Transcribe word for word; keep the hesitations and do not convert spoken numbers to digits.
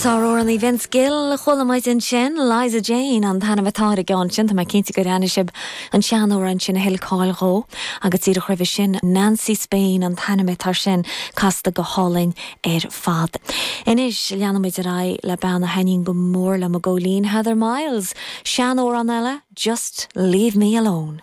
Sáramhránaí Vince Gill chuala muid ansin Liza Jane an t-ainm atá ar an gceann sin tá mé cinnte gur aithin sibh an seanamhrán sin a thuill cáil dó agus díreach roimhe sin Nancy Spain an t-ainm atá air sin casta go hálainn ar fad. Anois leanfaimid ar aghaidh le bean a thaitníonn go mór liom i gcónaí Heather Miles, seanamhrán eile, just leave me alone.